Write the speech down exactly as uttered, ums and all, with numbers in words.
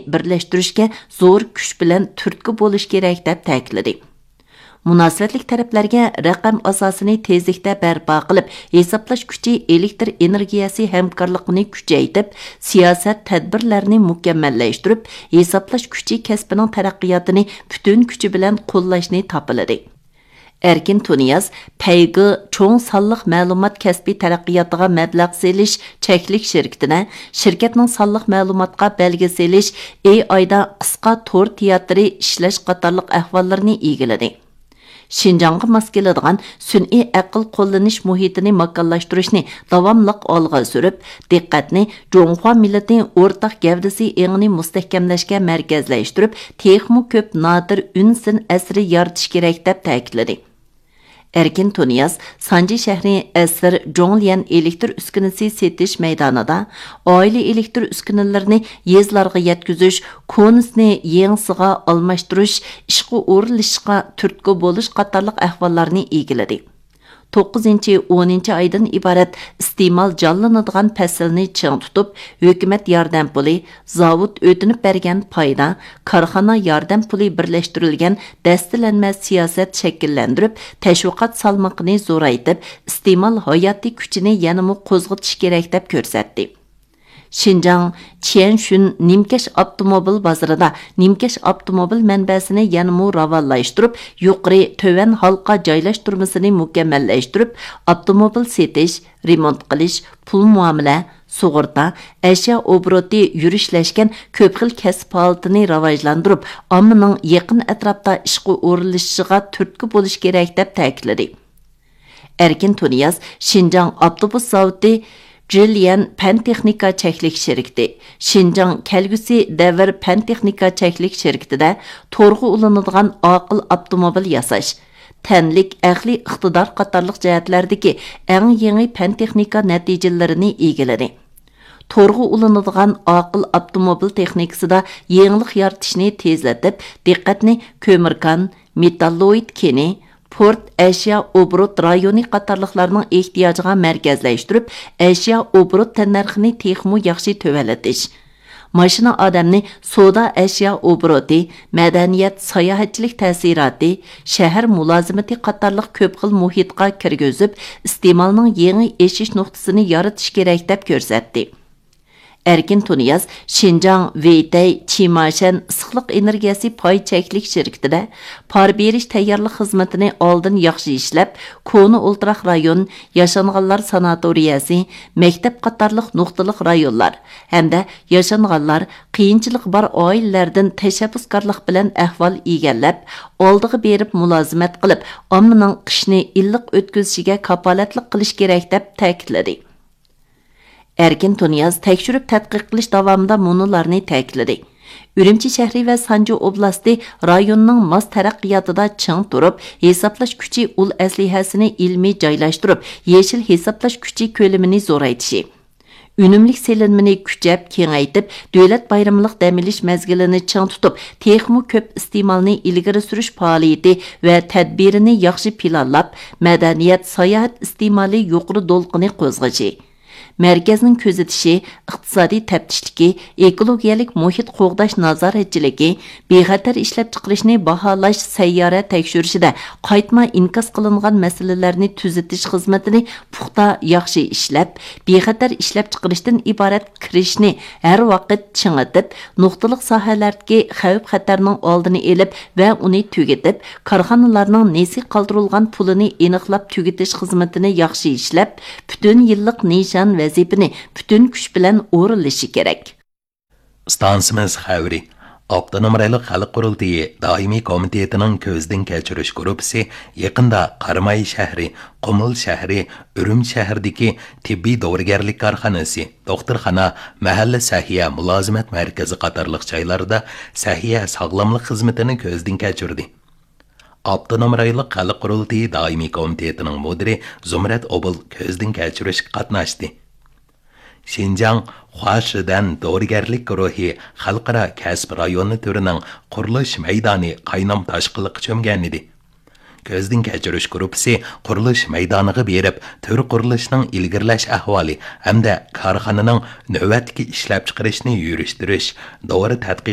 بىرلەشتۈرۈشكە زور كۈچ بىلەن تۈرتكە بولۇش كېرەك، دەپ تەكىتلىدى. مۇناسىۋەتلىك تەرەپلەرگە رەقەم ئاساسىنى تېزلىكتە بەرپا قىلىپ، ھېسابلاش كۈچى، ئېلېكتر ئېنېرگىيەسى ھەمكارلىقىنى كۈچەيتىپ، سىياسەت تەدبىرلەرنى مۇكەممەللەشتۈرۈپ، ھېسابلاش كۈچى كەسپىنىڭ تەرەققىياتىنى پۈتۈن كۈچى بىلەن قوللاشنى تاپىلىدى. ئەركىن تۇنىياز پەيگې چوڭ سانلىق مەلۇمات كەسپى تەرەققىياتىغا مەبلەغ سېلىش چەكلىك شىركىتىدە شىركەتنىڭ سانلىق مەلۇماتقا بەلگە سېلىش، ئېي ئايدا قىسقا تور تىياتىرى ئىشلەش قاتارلىق ئەھۋاللىرىنى ئىگىلىدى. شىنجاڭغا ماس كېلىدىغان سۈنئىي ئەقىل قوللىنىش مۇھىتىنى ماكانلاشتۇرۇشنى داۋاملىق ئالغا سۈرۈپ، دىققەتنى جۇڭخۇا مىللىتى ئورتاق گەۋدىسى ئېڭىنى مۇستەھكەملەشكە مەركەزلەشتۈرۈپ، تېخىمۇ كۆپ نادىر ئۈن سىن ئەسىرى يارىتىش كېرەك، دەپ تەكىتلىدى. ئەركىن تۇنىياز سانجى شەھىرى ئەسىر جوڭليەن ئېلېكتر ئۈسكۈنىسى سېتىش مەيدانىدا ئائىلە ئېلېكتر ئۈسكۈنىلىرىنى يېزىلارغا يەتكۈزۈش، كونىسىنى يېڭىسىغا ئالماشتۇرۇش، ئىشقا ئورۇنلىشىشقا تۈرتكە بولۇش قاتارلىق ئەھۋاللارنى ئىگىلىدى. توققۇزىنچى، ئونىنچى ئايدىن ئىبارەت ئىستېمال جانلىنىدىغان پەسىلنى چىڭ تۇتۇپ، ھۆكۈمەت ياردەم پۇلى، زاۋۇت ئۆتۈنۈپ بەرگەن پايدا، كارخانا ياردەم پۇلى بىرلەشتۈرۈلگەن دەستىلەنمە سىياسەت شەكىللەندۈرۈپ، تەشۋىقات سالمىقىنى زورايتىپ، ئىستېمال ھاياتىي كۈچىنى يەنىمۇ قوزغىتىش كېرەك، دەپ كۆرسەتتى. شىنجاڭ چيەنشۈن نىمكەش ئاپتوموبىل بازىرىدا نىمكەش ئاپتوموبىل مەنبەسىنى يەنىمۇ راۋانلاشتۇرۇپ، يۇقىرى، تۆۋەن ھالقا جايلاشتۇرمىسىنى مۇكەممەللەشتۈرۈپ، ئاپتوموبىل سېتىش، رېمونت قىلىش، پۇل مۇئامىلە، سۇغۇرتا، ئەشيا ئوبوروتى يۈرۈشلەشكەن كۆپ خىل كەسىپ ھالىتىنى راۋاجلاندۇرۇپ، ئاممىنىڭ يېقىن ئەتراپتا ئىشقا ئورۇنلىشىشىغا تۈرتكە بولۇش كېرەك، دەپ تەكىتلىدى. ئەركىن تۇنىياز شىنجاڭ ئاپتوبۇس زاۋۇتى جىليەن پەن تېخنىكا چەكلىك شىركىتى، شىنجاڭ كەلگۈسى دەۋر پەن تېخنىكا چەكلىك شىركىتىدە تورغا ئۇلىنىدىغان ئاقىل ئاپتوموبىل ياساش، تەنلىك ئەقلىي ئىقتىدار قاتارلىق جەھەتلەردىكى ئەڭ يېڭى پەن تېخنىكا نەتىجىلىرىنى ئىگىلىدى. تورغا ئۇلىنىدىغان ئاقىل ئاپتوموبىل تېخنىكىسىدا يېڭىلىق يارىتىشنى تېزلىتىپ، دىققەتنى كۆمۈر كان، مېتاللوئىد كېنى، پورت ئەشيا ئوبوروت رايونى قاتارلىقلارنىڭ ئېھتىياجىغا مەركەزلەشتۈرۈپ، ئەشيا ئوبوروت تەننەرخىنى تېخىمۇ ياخشى تۆۋەنلىتىش، ماشىنا ئادەمنى سودا ئەشيا ئوبوروتى، مەدەنىيەت، ساياھەتچىلىك تەسىراتى، شەھەر مۇلازىمىتى قاتارلىق كۆپ خىل مۇھىتقا كىرگۈزۈپ، ئىستېمالنىڭ يېڭى ئېشىش نۇقتىسىنى يارىتىش كېرەك، دەپ كۆرسەتتى. ئەركىن تۇنىياز شىنجاڭ ۋېيتەي چىماشەن ئىسسىقلىق ئېنېرگىيەسى پاي چەكلىك شىركىتىدە پار بېرىش تەييارلىق خىزمىتىنى ئالدىن ياخشى ئىشلەپ، كونا ئولتۇراق رايون، ياشانغانلار ساناتورىيەسى، مەكتەپ قاتارلىق نۇقتىلىق رايونلار ھەمدە ياشانغانلار، قىيىنچىلىقى بار ئائىلىلەردىن تەشەببۇسكارلىق بىلەن ئەھۋال ئىگىلەپ، ئالدىغا بېرىپ مۇلازىمەت قىلىپ، ئاممىنىڭ قىشنى ئىللىق ئۆتكۈزۈشىگە كاپالەتلىك قىلىش كېرەك، دەپ تەكىتلىدى. ئەركىن تۇنىياز تەكشۈرۈپ تەتقىق قىلىش داۋامىدا مۇنۇلارنى تەكىتلىدى: ئۈرۈمچى شەھىرى ۋە سانجى ئوبلاستى رايوننىڭ ماس تەرەققىياتىدا چىڭ تۇرۇپ، ھېسابلاش كۈچى ئۇل ئەسلىھەسىنى ئىلمىي جايلاشتۇرۇپ، يېشىل ھېسابلاش كۈچى كۆلىمىنى زورايتىشى، ئۈنۈملۈك سېلىنمىنى كۈچەپ كېڭەيتىپ، دۆلەت بايرىملىق دەم ئېلىش مەزگىلىنى چىڭ تۇتۇپ، تېخىمۇ كۆپ ئىستېمالنى ئىلگىرى سۈرۈش پائالىيىتى ۋە تەدبىرىنى ياخشى پىلانلاپ، مەدەنىيەت، ساياھەت ئىستېمالى يۇقىرى دولقۇنى قوزغىشى، مەركەزنىڭ كۆزىتىشى، ئىقتىسادىي تەپتىشلىكى، ئېكولوگىيەلىك مۇھىت قوغداش نازارەتچىلىكى، بىخەتەر ئىشلەپچىقىرىشنى باھالاش سەييارە تەكشۈرۈشىدە قايتما ئىنكاس قىلىنغان مەسىلىلەرنى تۈزىتىش خىزمىتىنى پۇختا، ياخشى ئىشلەپ، بىخەتەر ئىشلەپچىقىرىشتىن ئىبارەت كىرىشنى ھەر ۋاقىت چىڭىتىپ، نۇقتىلىق ساھەلەردىكى خەۋپ-خەتەرنىڭ ئالدىنى ئېلىپ ۋە ئۇنى تۈگىتىپ، كارخانىلارنىڭ نېسى قالدۇرۇلغان پۇلىنى ئېنىقلاپ تۈگىتىش خىزمىتىنى ياخشى ئىشلەپ، پۈتۈن يىللىق نىشان ۋەزىپىنى پۈتۈن كۈچ بىلەن ئورۇنلىشى كېرەك. ئىستانسىمىز خەۋىرى. ئاپتونوم رايونلۇق خەلق قۇرۇلتىيى دائىمىي كومىتېتىنىڭ كۆزدىن كەچۈرۈش گۇرۇپپىسى يېقىندا قاراماي شەھىرى، قۇمۇل شەھىرى، ئۈرۈمچى شەھىرىدىكى تېببىي دورىگەرلىك كارخانىسى، دوختۇرخانا، مەھەللە سەھىيە مۇلازىمەت مەركىزى قاتارلىق جايلاردا سەھىيە ساغلاملىق خىزمىتىنى كۆزدىن كەچۈردى. ئاپتونوم رايونلۇق خەلق قۇرۇلتىيى دائىمىي كومىتېتىنىڭ مۇدىرى زۇمرەت ئوبۇل كۆزدىن كەچۈرۈشكە قاتناشتى. شىنجاڭ خۇاشىدەن دورىگەرلىك گۇرۇھى خەلقئارا كەسىپ رايونى تۈرىنىڭ قۇرۇلۇش مەيدانى قاينام تاشقىنلىققا چۆمگەنىدى. كۆزدىن كەچۈرۈش گۇرۇپپىسى قۇرۇلۇش مەيدانىغا بېرىپ، تۈر قۇرۇلۇشنىڭ ئىلگىرىلەش ئەھۋالى ھەمدە كارخانىنىڭ نۆۋەتتىكى ئىشلەپچىقىرىشنى يۈرۈشتۈرۈش، دورا تەتقىق